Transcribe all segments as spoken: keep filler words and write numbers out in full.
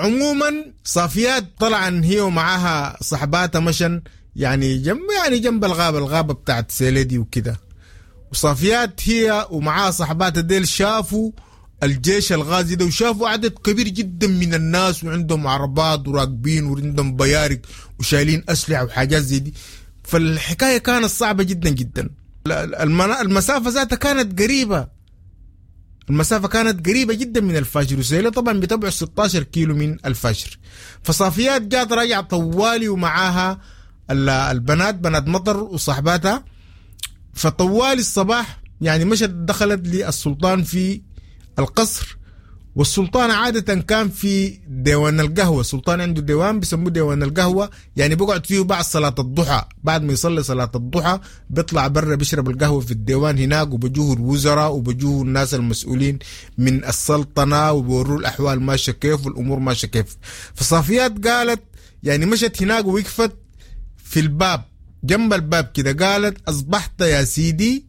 وعموما صافيات طلعا هي ومعاها صحباتها مشن يعني جنب يعني جنب الغابة، الغابة بتاعت سيلي دي وكده. وصافيات هي ومعاها صحباتها ديل شافوا الجيش الغازي ده، وشافوا عدد كبير جدا من الناس وعندهم عربات وراكبين وعندهم بيارق وشايلين أسلحة وحاجات زي دي. فالحكاية كانت صعبة جدا جدا. المسافة ذاتها كانت قريبة، المسافة كانت قريبة جدا من الفاشر، وسيلة طبعا بتبعد ستاشر كيلو من الفاشر. فصافيات جات راجعة طوالي ومعاها البنات، بنات مطر وصحباتها. فطوالي الصباح يعني مشت دخلت للسلطان في القصر، والسلطان عادة كان في ديوان القهوة. السلطان عنده ديوان بيسموه ديوان القهوة، يعني بيقعد فيه بعد صلاة الضحى، بعد ما يصلي صلاة الضحى بيطلع برا بيشرب القهوة في الديوان هناك، وبجوه الوزراء وبجوه الناس المسؤولين من السلطنة وبيوروه الأحوال ماشية كيف والأمور ماشية كيف. فصافيات قالت يعني مشت هناك ووقفت في الباب جنب الباب كده، قالت أصبحت يا سيدي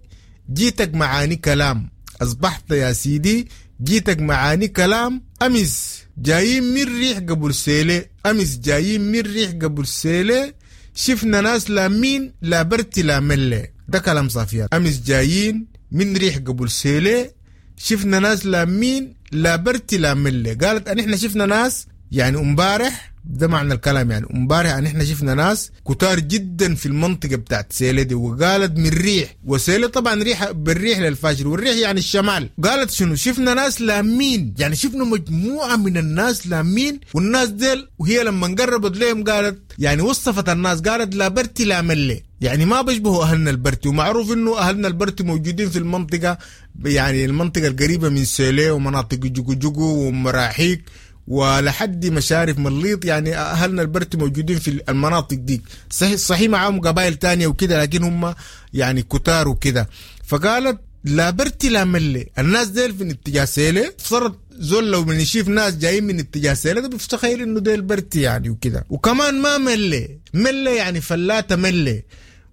جيتك معاني كلام، أصبحت يا سيدي جيتك معاني كلام، أمس جايين من ريح قبل سيلة، أمس جايين من ريح قبل سيلة، شفنا ناس لا مين لا برتي لا ملة. ده كلام صافيات. أمس جايين من ريح قبل سيلة، شفنا ناس لا مين لا برتي لا ملة. قالت أن إحنا شفنا ناس يعني امبارح، ده معنى الكلام، يعني امبارح ان احنا شفنا ناس كتار جدا في المنطقة بتاعت سيلة دي. وقالت من ريح، وسيلة طبعا ريح بالريح للفاشر، والريح يعني الشمال. قالت شنو؟ شفنا ناس لامين، يعني شفنا مجموعة من الناس لامين، والناس ديل وهي لما قربت لهم قالت يعني وصفت الناس، قالت لا برتي لا ملة، يعني ما بيشبهوا اهلنا البرتي. ومعروف انه اهلنا البرتي موجودين في المنطقة، يعني المنطقة القريبة من سيلة ومناطق جوجو جوجو ومراحيك ولحد مشارف مليط، يعني أهلنا البرتي موجودين في المناطق دي. صحيح صحيح معاهم قبائل تانية وكده، لكن هم يعني كتار وكده. فقالت لا برتي لا ملي، الناس ديل في اتجاه سيلة. صارت زول لو من يشوف ناس جايين من اتجاه سيلة ده بيفتخيل انه ديل برتي يعني وكده. وكمان ما ملي، ملي يعني فلاتة ملي،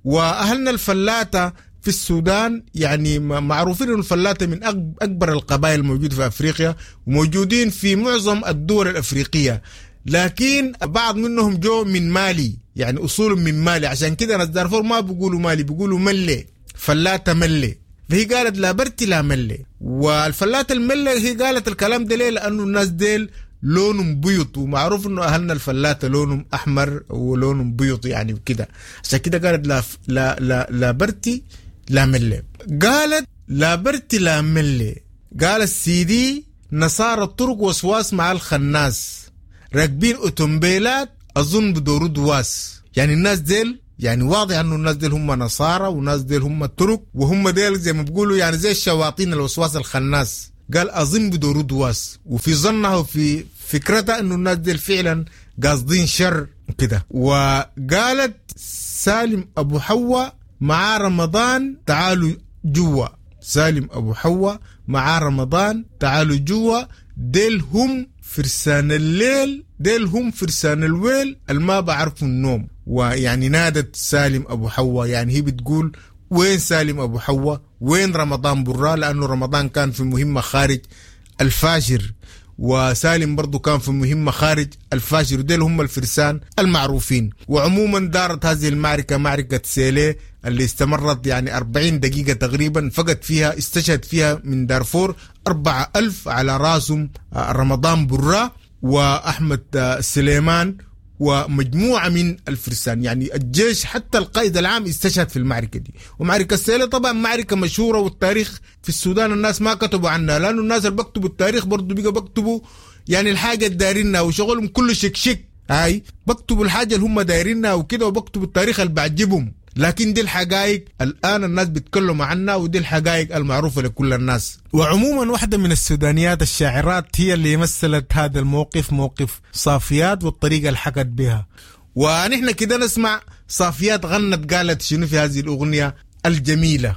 واهلنا الفلاتة في السودان يعني معروفين انه الفلاتة من اكبر القبائل الموجودة في افريقيا، وموجودين في معظم الدول الافريقية، لكن بعض منهم جو من مالي، يعني اصولهم من مالي، عشان كده ناس دارفور ما بيقولوا مالي، بيقولوا ملي، فلاتة ملي. فهي قالت لا برتي لا ملي. والفلاتة الملي هي قالت الكلام ده ليه؟ لانه الناس ديل لونهم بيض، ومعروف انه اهلنا الفلاتة لونهم احمر ولونهم بيض يعني وكده، عشان كده قالت لا لا لا, لا برتي لا ملي. قالت لا برتي لا ملي، قال السيدي نصارى الطرق وسواس مع الخناس، راكبين اوتومبيلات اظن بدورو دواس. يعني الناس ديل يعني واضح انه الناس ديل هم نصارى، والناس ديل هم الترك، وهم ديل زي ما بيقولوا يعني زي الشواطين الوسواس الخناس. قال اظن بدورو دواس، وفي ظنها وفي فكرتها انه الناس ديل فعلا قاصدين شر كده. وقالت سالم ابو حواء مع رمضان تعالوا جوا، سالم أبو حواء مع رمضان تعالوا جوا، ديل هم فرسان الليل، ديل هم فرسان الويل الما بعرفوا النوم. ويعني نادت سالم أبو حواء، يعني هي بتقول وين سالم أبو حواء، وين رمضان برا، لأنه رمضان كان في مهمة خارج الفاشر، وسالم برضو كان في مهمة خارج الفاشر، وديل هم الفرسان المعروفين. وعموما دارت هذه المعركة، معركة سيلة اللي استمرت يعني أربعين دقيقة تقريبا، فقد فيها استشهد فيها من دارفور أربعة ألف على راسهم رمضان برا وأحمد سليمان ومجموعة من الفرسان، يعني الجيش حتى القائد العام استشهد في المعركة دي. ومعركة السيلة طبعا معركة مشهورة، والتاريخ في السودان الناس ما كتبوا عنها، لأنه الناس اللي بكتبوا التاريخ برضو بيقوا بكتبوا يعني الحاجة الدارينها وشغلهم كله شك شك، هاي بكتبوا الحاجة اللي هم دايرينها وكده، وبكتبوا التاريخ اللي بعجبهم. لكن دي الحقائق الآن الناس بيتكلموا عنها، ودي الحقائق المعروفة لكل الناس. وعموما واحدة من السودانيات الشاعرات هي اللي مثلت هذا الموقف، موقف صافيات والطريقة اللي حكت بها. ونحن كده نسمع صافيات غنت قالت شنو في هذه الأغنية الجميلة.